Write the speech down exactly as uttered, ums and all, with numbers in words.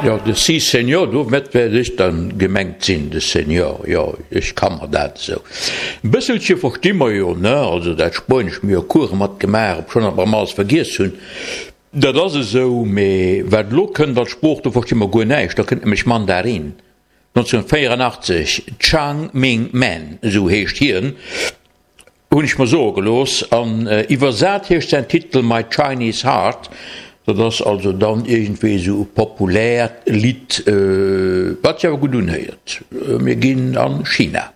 Jo, de Si Señor, domat wäert ech dann gemengt sinn, de Señor, jo, ech ka mer dat esou e bësselche versti mer jo, ne, also dat Spuenesch, mir hu Course mat gemaach, obschonn dat mer erëm alles vergiess hunn, dat ass esou, mee wat elo kënnt als Sprooch, do versti mer guer näischt, da kënnt nämlech Mandarin. nonzénhunnertvéierunachtzeg, Chang Ming Man, esou heescht hien, hunn ech mer soe gelooss, an iwwersat heescht säin Titel My Chinese Heart. Dat ass also dann iergendwéi esou e populäert Lidd, wat sech awer gutt unhéiert. Mir ginn a China.